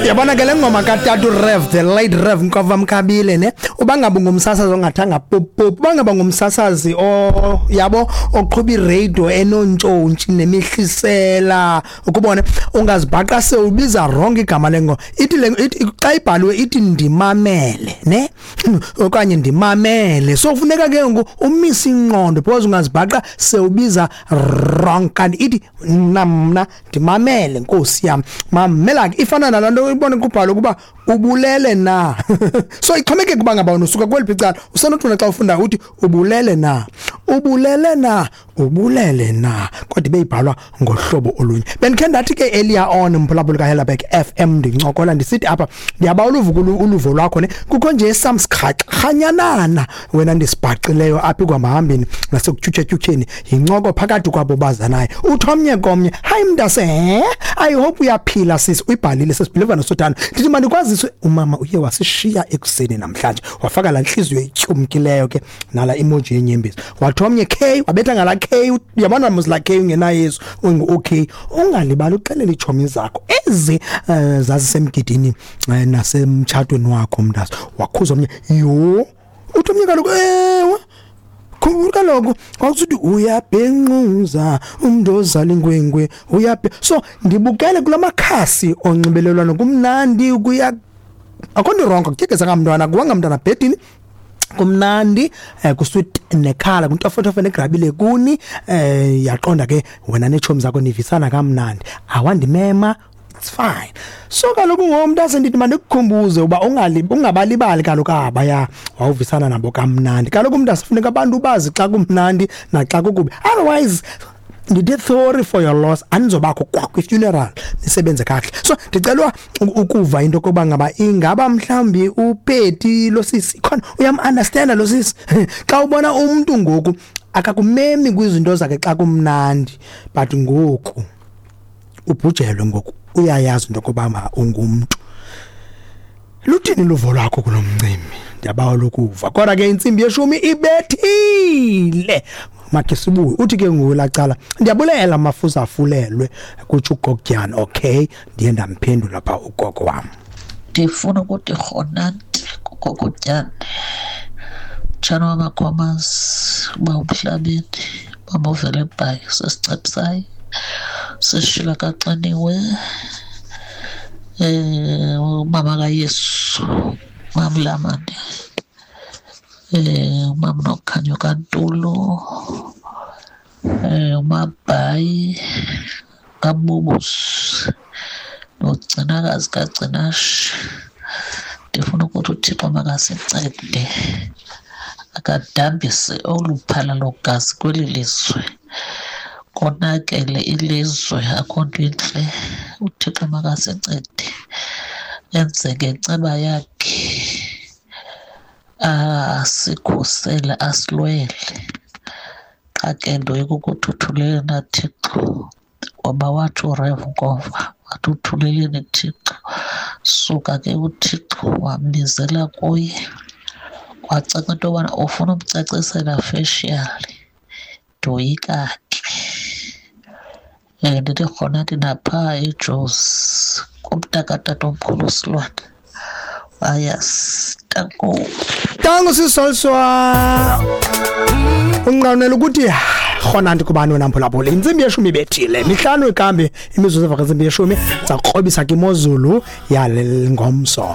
Yabona ke le ngoma kaTatu Rev, the late Rev Nkova Mkabile, ne uba ngaba ngumsasazi ongathanga pop pop, uba ngaba ngumsasazi o yabo oqhuba iradio enontshontsho nemihlisela, ukubone ungazibhaqa sewubiza wrong igama lengoma. Ithi le ithi xa ibhaliwe ithi ndimamele, ne okanye ndimamele. So funeka ke ngoku umise ingqondo because ungazibhaqa sewubiza wrong, kanti ithi mna mna ndimamele, nkosi yam, mamela ke. Ifana nalaa nto ibone kubhalwe ukuba ubulele na. So ixhomekeke uba ngaba wena usuka kweliphi icala. Usenothuna xa ufunda uthi ubulele na, ubulele na, ubulele na, kodwa ibe ibhalwa ngohlobo olunye. Bendikhe ndathi ke earlier on, mphulaphuli kaHellerberg FM, ndincokola ndisithi apha ndiyabawula uvuka uluvo lwakho, ne kukho nje samsikrhanyanana wena ndisibhaqileyo apha ekuhambahambeni nasekutyhutyha-tyhutyheni yincoko phakathi kwabo bazanayo. Uthi omnye komnye, "Hayi mntase, I hope uyaphila sisi." Uyibhalile sesibhiliva nosothando. Ndithi mandikwaziswe, umama uye wasishiya ekuseni namhlanje. Wafaka laa ntliziyo ityumkileyo ke nala emoji yenyembezi. Wathi omnye K, wabetha ngala K, uyabona mos la K ungenayesu ungu-okay. "Ungalibali uxelela iitshomi zakho ezi zazisemgidini nasemtshatweni wakho mntase." Wakhuza omnye, yho. Uthi omnye kaloku, "Ewe, khumbula kaloku kwakusithi uyabhenquza umntu ozala inkwenkwe uyabhe." So ndibukele kula makhasi onxibelelwano, kumnandi, kuya akho nto wrong, kutyekeza mntwana, kuwanga mntwana bhedini, kumnandi, kusweet nekhala kuntofotofo negrabile kuni, yaqonda ke wena neetshomi zakho nivisana kamnandi, awandimema, it's fine. So kaloku ngomntu asendithi mandikukhumbuze uba ungabalibali kaloku abaya wawuvisana nabo kamnandi. Kaloku umntu asifuneka abantu bazi xa kumnandi naxa kukubi, otherwise ndithi sorry for your loss, anizobakho kwa kwi-funeral, nisebenze kakuhle. So ndicelwa ukuva into yokuba ngaba ingaba mhlawumbi upeti lo sisi khona uyam-understanda lo sisi xa ubona umntu ngoku akakumemi kwizinto zakhe xa kumnandi, but ngoku ubhujelwe, ngoku uyayazi into yokuba ungumntu. Luthini luvo lwakho kulo mcimbi? Ndiyabawela ukuva. Kodwa ke 10:30 ibethile, makhe sibuye. Uthi ke nguwe lacala, "Ndiyabulela mafuza afulelwe," kutsho ugogotyana. Okay, ndiye ndamphendula phaa ugogo wam. Ndifuna ukuthi rhonanti kugogotyane, mtshana wamakhomazi, uba umhlabeni, mama uvele ebhayi, sesicepsayi sishila kaxiniwe, umama kaYesu, mamlamane, umama nokhanyo kaNtulo, umabhayi kaBubus nogcinakazi kaGcinashe. Ndifuna ukuthi uThixo makasincede akadambise olu phalalo gazi kweli lizwe. Konakele ilizwe, akho nto intle. UThixo makasincede enze ngenceba yakhe, asikhusele, asilwele. Qha ke ndoyika ukuthi uthulele na Thixo, ngoba wathi uRev Nkova, wathi uthuleleni Thixo. Suka ke uThixo wambizela kuye, kwacaca into yobana ufuna umcacisela facially. Ndoyika ke. Ndithi rhona ndinaphaa eJozi kumntakatatomkhulu uSilwane. Ayas, tanko. Tango sisolswa unqanela ukuthi rhona nti kubani wena mphulaphula. 10:30 ibethile, 5 ikambi imizuzu emva kwentsimbi yeshumi. Sakrobisa ke imozulu yale ngomso.